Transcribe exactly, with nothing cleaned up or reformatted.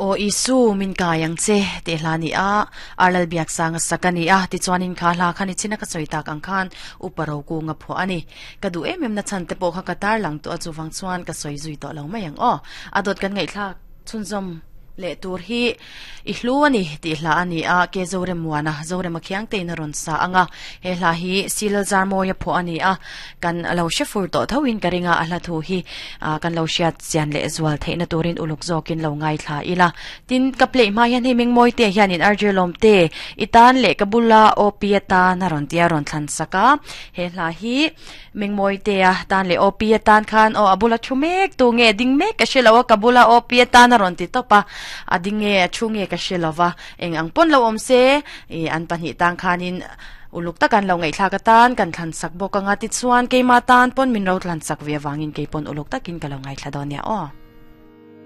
O isu min kayang che te hla ni a arlal biak sanga sakani a ti chuanin kha hla khani china ka soita kang khan uparo ku nga pho ani ka du em em na chan te po kha katar lang to achu wang chuan ka soi zui to lo mai ang o adot kan ngai thla chunzom le tur hi i hlu ani ti hla ani a ke zorem muana zorem a khiang te na ron sa anga he hla hi silal zar moya pho ani a kan lo shefur to thawin karinga a hla thu hi kan lo hriat chian le zual theina turin uluk zawkin lo ngai thla ila tin ka play ma hian hei mengmoi te hianin arje lom te itan le kabula opiata na ron tia ron thlan saka he hla hi mengmoi te a tan le opiatan khan o abula thumek tu nge ding mek ka shelawa kabula opiata na ron ti topa adinge achunge ka shelova eng ang pon lo om se e an pahnih tang khanin uluk takan lo ngai thla ka tan kan thlan sak bawk anga ti chuan keima tan pon min ro thlan sak ve wangin ke pon uluk takin ka lo ngai thla dawn ya o.